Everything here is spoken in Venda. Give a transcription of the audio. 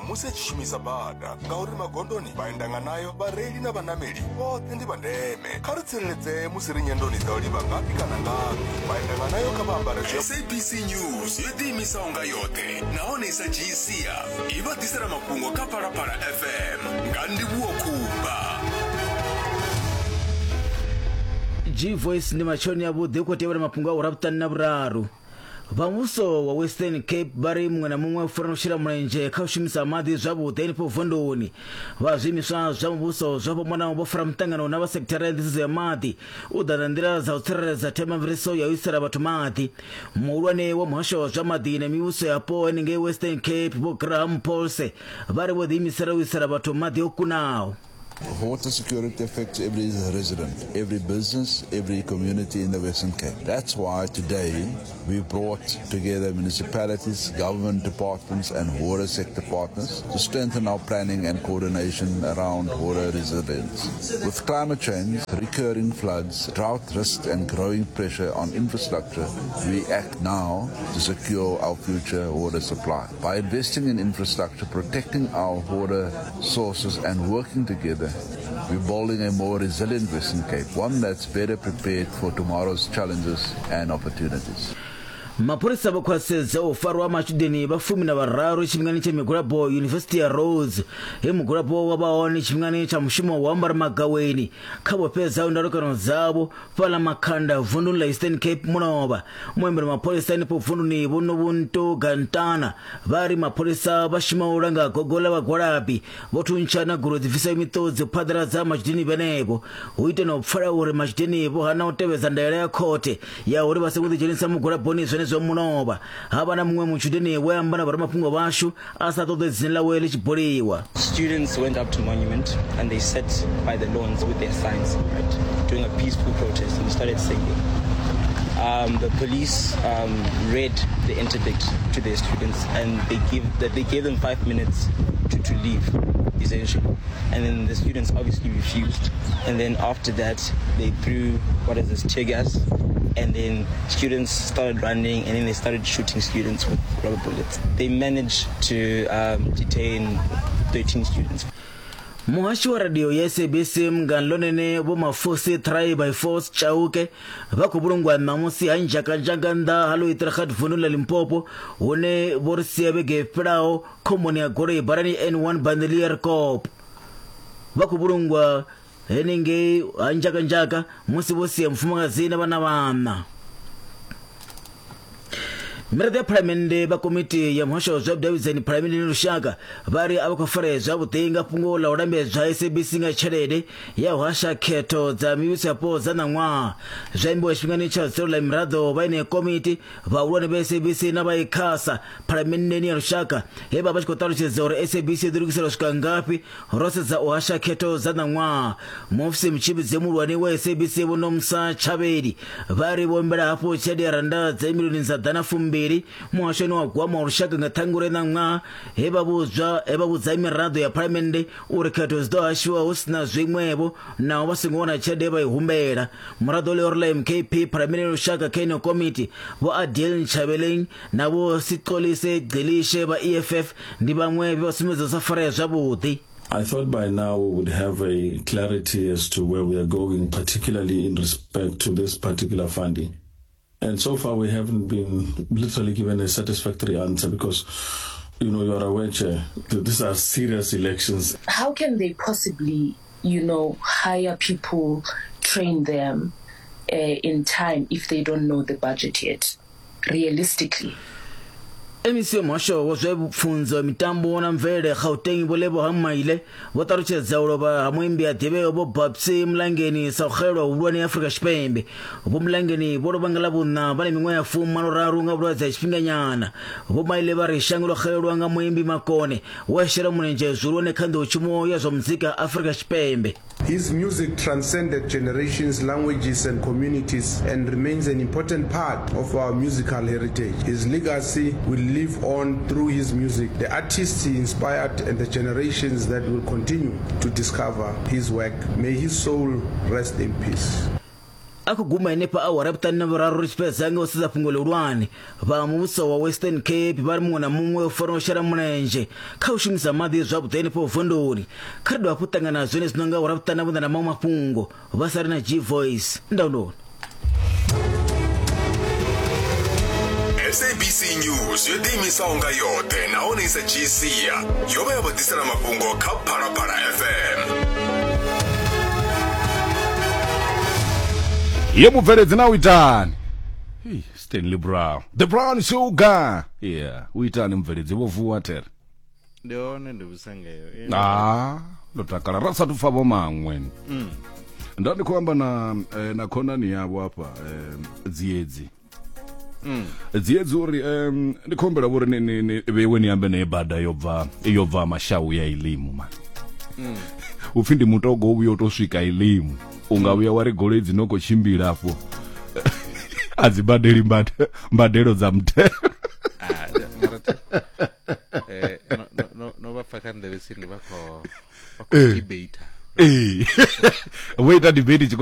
musi a tshi shumisa bada ngauri magondoni vhaendanganayo vhareili na vhanameli vhoṱhe ndi vha ndeme kha ri tsireledzee musi ri nyendoni dza u livha ngafhi kana ngafhi vhaendanganayo kha vha ambare SABC News yo ḓiimisaho nga yoṱhe nahone i sa dzhii sia i vha ḓisela mafhungo kha Phalaphala FM nga Ndivhuwo Khumba. G Voice ndi matshoni avhuḓi u khou tevhela mafhungo a ura vhuṱanu na vhuraru. Vha muvhuso wa Western Cape vha ri muṅwe na muṅwe u fanela u shela mulenzhe kha u shumisa maḓi zwavhuḓi henefho vunduni. Vha zwiimiswa zwa muvhuso zwo fhambanaho vho fara muṱangano na vha sekithara ya nḓisedzo ya maḓi u ḓa na nḓila dza u tsireledza themamveledziso ya u isela vhathu maḓi. Muhulwane wa muhasho wa zwa maḓi na mivhuso yapo henengei Western Cape Vho Graham Paulse vha ri vho ḓiimisela u isela vhathu maḓi o kunaho. Water security affects every resident, every business, every community in the Western Cape. That's why today we brought together municipalities, government departments and water sector partners to strengthen our planning and coordination around water resilience. With climate change, recurring floods, drought risk and growing pressure on infrastructure, we act now to secure our future water supply. By investing in infrastructure, protecting our water sources and working together, we're building a more resilient Western Cape, one that's better prepared for tomorrow's challenges and opportunities. Mapholisa vho khwaṱhisedza u farwa ha matshudeni vha fumi na vhararu tshifhingani tsha migwalabo Yunivesithi ya Rhodes, he mugwalabo wa vha hone tshifhingani tsha mushumo wa u ambara magaweni kha vho fhedzaho ndalukano dzavho fhaḽa Makhanda vunduni ḽa Eastern Cape mulovha. Muambeli wa mapholisa henefho vunduni Vho Nobuntu Gantana vha ri mapholisa vha shuma u langa gogo ḽa vhagwalabi vho thuntsha na goloi dzi bvisaho miṱodzi u phaḓaladza matshudeni vhenevho hu ite na u pfala uri matshudeni vho hana u tevhedza ndaela ya khothe ya uri vha songo ḓidzhenisa mugwalaboni zwenezwo mulovha. Ha vha na muṅwe mutshudeni we a amba na vhoramafhungo vhashu a sa ṱoḓe dzina ḽawe ḽi tshi buliwa. Students went up to Monument and they sat by the lawns with their signs, right, doing a peaceful protest and started singing. Um, the police um, read the interdict to their students and they give that they gave them five minutes to, to leave essentially and then the students obviously refused and then after that they threw what is this tear gas and then students started running and then they started shooting students with rubber bullets they managed to um, detain 13 students Muhashi wa radio ya SABC Munghana Lonene Vho Mafosi 3 by Force Chauke vha khou vhulungwa ṋamusi ha nzhakanzhaka nnḓa ha Louitragat vundu ḽa Limpopo hune vho ri sia vhege i fhelaho khomboni ya goloi badani N1 Bandelierkop. Vha khou vhulungwa henengei ha nzhakanzhaka musi vho sia mufumakadzi na vhana vhaṋa. Miraḓo ya Phalamennde vha komiti ya muhasho wa zwa vhudavhidzani Phalamenndeni ya Lushaka vha ri a vha khou farea zwavhuḓi nga fhungo ḽa u lambedzwa ha SABC nga tshelede ya u hasha khetho dza mivhuso yapo dza ṋaṅwaha. Zwi ambiwa tshifhingani tsha dzulo ḽa miraḓo vha yeneyo komiti, vhahulwane vha SABC na vha ICASA Phalamenndeni ya Lushaka he vha vha tshi khou ṱalutshedza uri SABC yo ḓilugisela u swika ngafhi ro sedza u hasha khetho dza ṋaṅwaha. Muofisi mutshimbidzi muhulwane wa SABC Vho Nomsa Tshavheli vha ri vho humbela hafhu tshelede ya rannda dza milioni dza ḓana fumbili muhashoni wa gwama wa lushaka nga Ṱhangule ṋaṅwaha he vha vhudzwa he vha vhudza miraḓo ya phalamennde uri khetho dzi ḓo hashiwa hu si na zwiṅwevho naho vha songo wana tshelede ye vha i humbela. Muraḓo ḽihoro ḽa MKP phalamennde ya lushaka kha ino komiti Vho Adil Ntshavheleng na Vho Sixolise Gcilishe vha EFF ndi vhaṅwe vhe vha sumbedza u sa farea zwavhuḓi. I thought by now we would have a clarity as to where we are going, particularly in respect to this particular funding. And so far we haven't been literally given a satisfactory answer because, you know, you are aware, Chair, that these are serious elections. How can they possibly, you know, hire people, train them uh, in time if they don't know the budget yet? Realistically. MEC wa muhasho wa zwa pfunzo, mitambo na mvelele Gauteng Vho Lebohang Maile vho ṱalutshedza u lovha ha muimbi a ḓivheaho Vho Babsy Mlangeni sa u xelelwa huhulwane Afrika Tshipembe. Vho Mlangeni vho lovha nga Ḽavhuṋa vha na miṅwaha ya fumalo raru nga vhulwadze ha tshifhinganyana. Vho Maile vha ri shango ḽo xelelwa nga muimbi makone we a shela mulenzhe zwihulwane kha nḓowetshumo ya zwa muzika Afrika Tshipembe. His music transcended generations, languages, and communities and remains an important part of our musical heritage. His legacy will live on through his music, the artists he inspired, and the generations that will continue to discover his work. May his soul rest in peace. A khou guma henefha awara ya vhuṱanu na vhuraru ri tshi fhedza nga u sedza fhungo ḽihulwane. Vha muvhuso wa Western Cape vha ri muṅwe na muṅwe u fanela u shela mulenzhe kha u shumisa maḓi zwavhuḓi henefho vunduni. Kha ri dovhe hafhu ṱangana zwenezwino nga awara ya vhuṱanu na vhuṋa na maṅwe mafhungo. Vha sale na G-Voice. Ndaulo. SABC News yo ḓiimisaho nga yoṱhe nahone i sa dzhii sia yo vha ya vha ḓisela mafhungo kha Phalaphala FM. Ye mubveledzi na u itani? Hey, Stanley Brown. The Brown Sugar. Yeah, u itani mubveledzi vho vuwa there. Ndi hone ndi vhusa ngeyo. Ah, ndo takala ra sathu pfa vho maṅwe. Nda ndi khou amba na na khonani yavho hafha eh, Dziedzi. Dziedzi uri ndi khou humbela vho ri ni ni ni vheiwe ni ambe naye bada yo bva yo bva mashau ya ilimu man. Upfi ndi mutogo u vhuya u to swika ilimu. U nga vhuya wa ri goloi dzi no khou tshimbila afho. A dzi badeli mbadelo dza muthelo. Ah, mara no, no, no, no vha pfa kha nḓevhe tsini vha khou debate. Ee. Vho ita debate tshikolo.